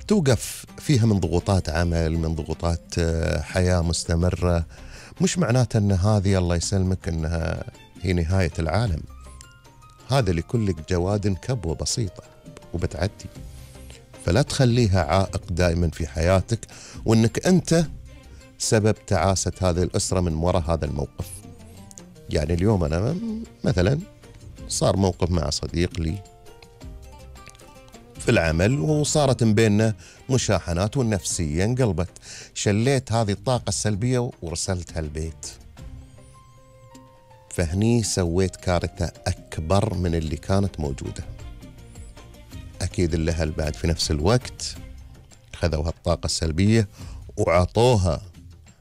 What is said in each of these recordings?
توقف فيها من ضغوطات عمل، من ضغوطات حياة مستمرة، مش معناته أن هذه الله يسلمك أنها هي نهاية العالم. هذا لكل جواد كبوة بسيطة وبتعدي. فلا تخليها عائق دائما في حياتك، وأنك أنت سبب تعاسة هذه الأسرة من وراء هذا الموقف. يعني اليوم أنا مثلا صار موقف مع صديق لي في العمل، وصارت بيننا مشاحنات والنفسية انقلبت. شليت هذه الطاقة السلبية ورسلتها البيت، فهني سويت كارثة أكبر من اللي كانت موجودة. أكيد الأهل بعد في نفس الوقت خذوا هالطاقة السلبية وعطوها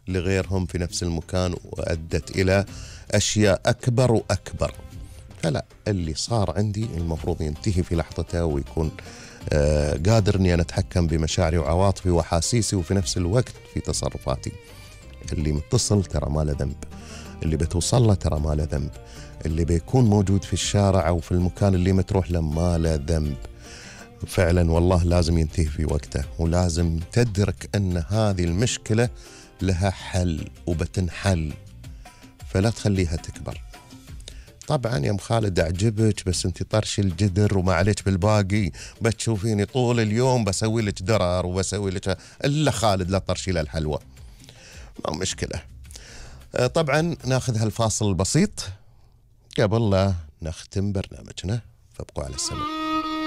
لغيرهم في نفس المكان، وأدت إلى أشياء أكبر وأكبر. فلا، اللي صار عندي المفروض ينتهي في لحظته، ويكون قادر أني أنا أتحكم بمشاعري وعواطفي وأحاسيسي، وفي نفس الوقت في تصرفاتي. اللي متصل ترى ما له ذنب، اللي بتوصل له ترى ما له ذنب، اللي بيكون موجود في الشارع أو في المكان اللي متروح له ما له ذنب. فعلا والله لازم ينتهي في وقته، ولازم تدرك أن هذه المشكلة لها حل وبتنحل، فلا تخليها تكبر. طبعا يا ام خالد أعجبك، بس انت طرش الجدر وما عليك بالباقي، بتشوفيني طول اليوم بسوي لك درر وبسوي لك إلا خالد لا طرشي له الحلوى. ما مشكلة. طبعا ناخذ هالفاصل البسيط قبل لا نختم برنامجنا، فابقوا على السمع.